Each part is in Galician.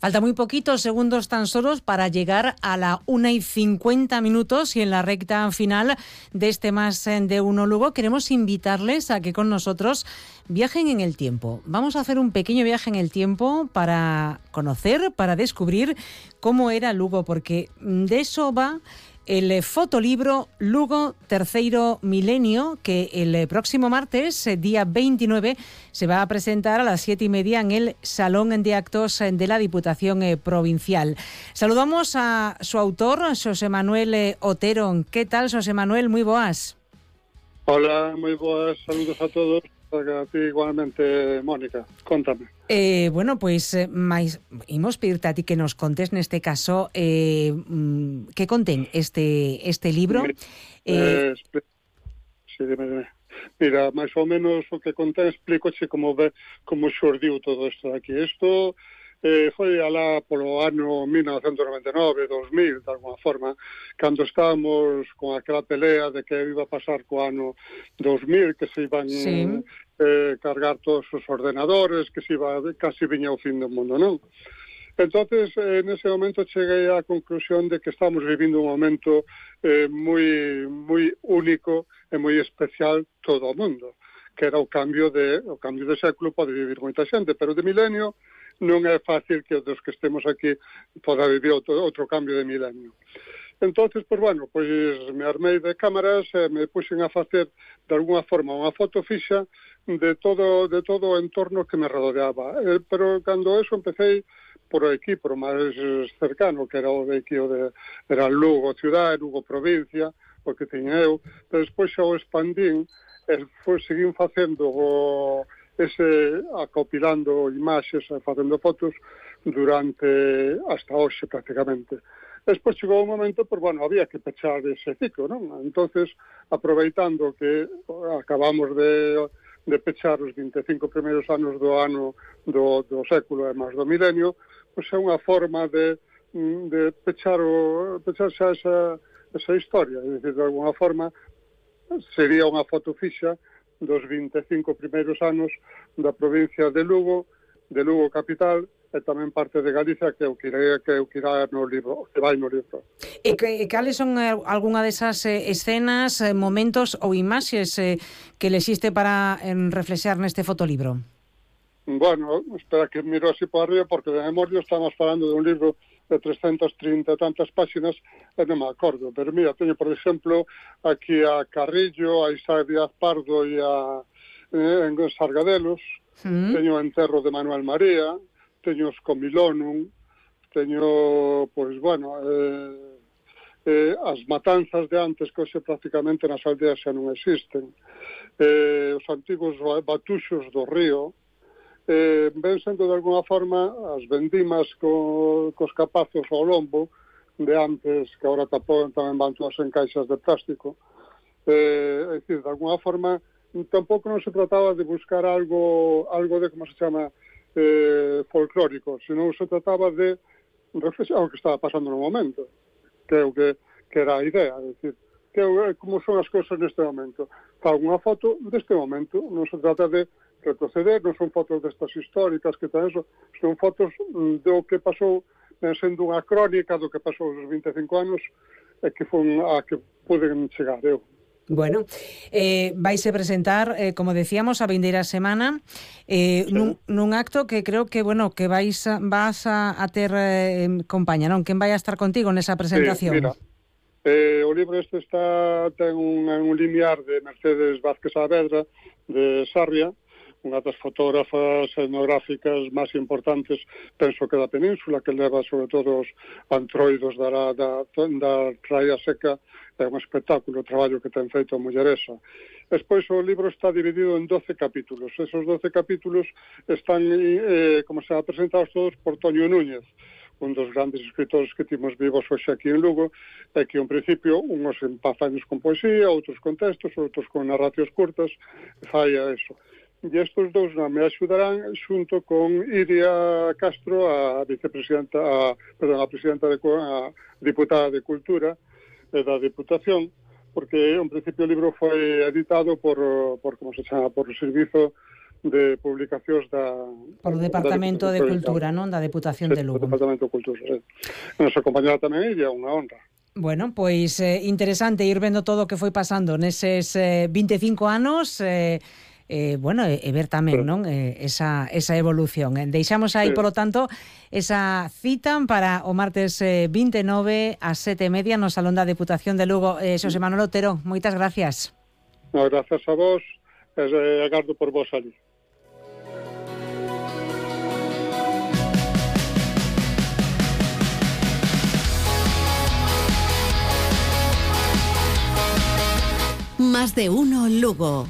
Falta muy poquitos segundos tan solos para llegar a la 1:50 y en la recta final de este Más de Uno Lugo queremos invitarles a que con nosotros viajen en el tiempo. Vamos a hacer un pequeño viaje en el tiempo para conocer, para descubrir cómo era Lugo, porque de eso va el fotolibro Lugo Terceiro Milenio, que el próximo martes, día 29, se va a presentar a las 7:30 en el Salón de Actos de la Diputación Provincial. Saludamos a su autor, Xosé Manuel Otero. ¿Qué tal, Xosé Manuel? Moi boas. Hola, moi boas, saludos a todos. A ti igualmente, Mónica, contame. Bueno, pois imos pedirte a ti que nos contes neste caso que contén este libro. Sí, dime. Mira, máis ou menos o que contén, explícoche como xurdiu todo isto aquí. Isto foi alá polo ano 1999, 2000, de alguma forma, cando estábamos con aquela pelea de que iba a pasar co ano 2000, que se iban cargar todos os ordenadores, que se iba, casi viña o fin do mundo, non? Entonces, nese momento cheguei á conclusión de que estamos vivindo un momento moi único e moi especial todo o mundo, que era o cambio de século. Pode vivir moita xente, pero de milenio non é fácil que dos que estemos aquí poda vivir outro cambio de milenio. Entonces, me armei de cámaras e me puxen a facer de alguna forma unha foto fixa de todo o entorno que me rodeaba. Pero cando eso empecé por aquí, por o máis cercano, que era o de aquí, era Lugo ciudad, Lugo provincia, o que tiña eu. Pero despois xa o expandín e seguín facendo acopilando imaxes e facendo fotos durante hasta hoxe prácticamente. Despois chegou un momento, había que pechar ese ciclo, non? Entonces, aproveitando que acabamos de pechar os 25 primeiros anos do século e máis do milenio, pois é unha forma de pechar xa esa historia. É dicir, de alguna forma, sería unha foto fixa dos 25 primeiros anos da provincia de Lugo capital, e tamén parte de Galicia, que irá no libro, que vai no libro. E cales son algunha desas escenas, momentos ou imaxes que lexiste para reflexar neste fotolibro? Bueno, espera que miro así por arriba, porque de memoria estamos falando de un libro de 330 tantas páxinas e non me acordo, pero mira, teño por exemplo aquí a Carrillo, a Isaac Díaz Pardo e en Sargadelos, teño o enterro de Manuel María, teño os Comilonum, teño, as matanzas de antes, que hoxe prácticamente nas aldeas xa non existen, os antigos batuxos do río, ven sendo de alguna forma as vendimas cos capazos ao lombo de antes, que agora tamén van todas en caixas de plástico. É dicir, de alguna forma, tampouco non se trataba de buscar algo de, como se chama, folclórico, senón se trataba de reflexionar o que estaba pasando no momento, que era a idea, é dicir, como son as cousas neste momento. Fago unha foto deste momento, non se trata de retroceder, non son fotos destas históricas que tan eso, son fotos do que pasou, sendo unha crónica do que pasou os 25 anos e que foi a que poden chegar eu. Bueno, vaise presentar, como decíamos, a vindeira semana nun acto que creo que vas a ter compañía, non? Quen vai a estar contigo nesa presentación? Sí, mira, o libro este ten un limiar de Mercedes Vázquez Saavedra de Sarria, unha das fotógrafas etnográficas máis importantes, penso que da península, que leva sobre todo os antroidos da Raia Seca. É un espectáculo o traballo que ten feito a mulleresa. Despois o libro está dividido en 12 capítulos. Esos 12 capítulos están, como se presentados todos, por Toño Núñez, un dos grandes escritores que timos vivos hoxe aquí en Lugo, e que, en principio, unhos empazaños con poesía, outros con textos, outros con narracións curtas, fai a eso. E estes dous me axudarán xunto con Iria Castro, a vicepresidenta, a diputada de Cultura da Diputación, porque en principio o libro foi editado por como se chama, por o Servizo de publicacións Por o Departamento de Cultura, non? Da Deputación de Lugo. O Departamento de Cultura, sí. A nosa compañera tamén é unha honra. Bueno, pois interesante ir vendo todo o que foi pasando neses 25 anos, bueno, e ver tamén, non, esa evolución. Deixamos aí, polo tanto, esa cita para o martes 29 ás 7:30 no Salón da Deputación de Lugo. Xosé Manuel Otero, moitas gracias. No, gracias a vos, agardo por vos ali. Más de uno Lugo.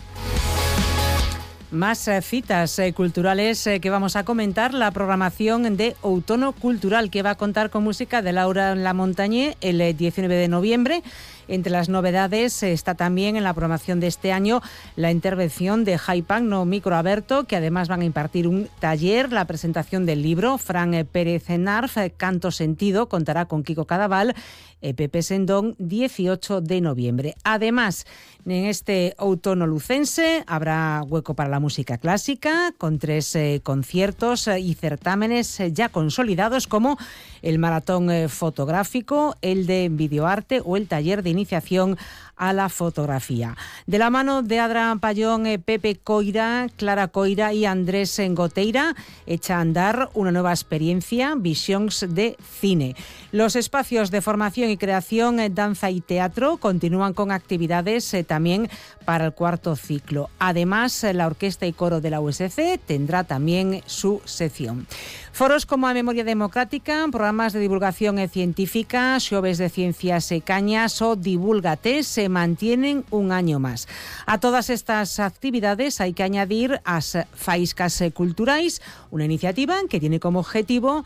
Más citas culturales que vamos a comentar. La programación de Outono Cultural, que va a contar con música de Laura Lamontañé el 19 de noviembre. Entre las novedades está también en la programación de este año la intervención de Jaipan no Micro Aberto, que además van a impartir un taller, la presentación del libro. Fran Pérez Narf, Canto Sentido, contará con Kiko Cadaval, Pepe Sendón, 18 de noviembre. Además, en este outono lucense habrá hueco para la música clásica, con 3 conciertos y certámenes ya consolidados, como el maratón fotográfico, el de videoarte o el taller de iniciación a la fotografía. De la mano de Adra Payón, Pepe Coira, Clara Coira y Andrés Goteira, echa a andar una nueva experiencia, Visions de Cine. Los espacios de formación y creación, danza y teatro continúan con actividades también para el cuarto ciclo. Además, la Orquesta y Coro de la USC tendrá también su sección. Foros como a Memoria Democrática, programas de divulgación científica, xoves de ciencias e cañas o Divúlgate se mantienen un año más. A todas estas actividades hay que añadir as faiscas culturais, una iniciativa que tiene como objetivo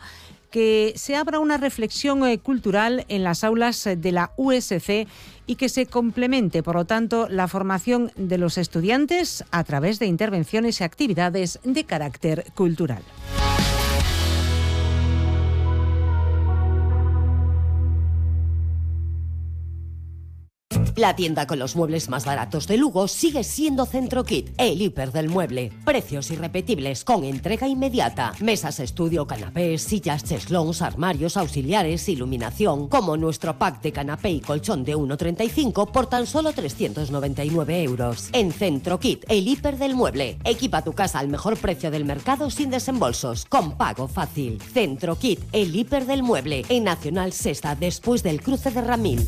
que se abra una reflexión cultural en las aulas de la USC y que se complemente, por lo tanto, la formación de los estudiantes a través de intervenciones y actividades de carácter cultural. La tienda con los muebles más baratos de Lugo sigue siendo Centrokit, el hiper del mueble. Precios irrepetibles con entrega inmediata. Mesas, estudio, canapés, sillas, cheslons, armarios, auxiliares, iluminación. Como nuestro pack de canapé y colchón de 1,35 por tan solo 399 euros. En Centrokit, el hiper del mueble. Equipa tu casa al mejor precio del mercado sin desembolsos, con pago fácil. Centrokit, el hiper del mueble. En Nacional Sexta, después del cruce de Ramil.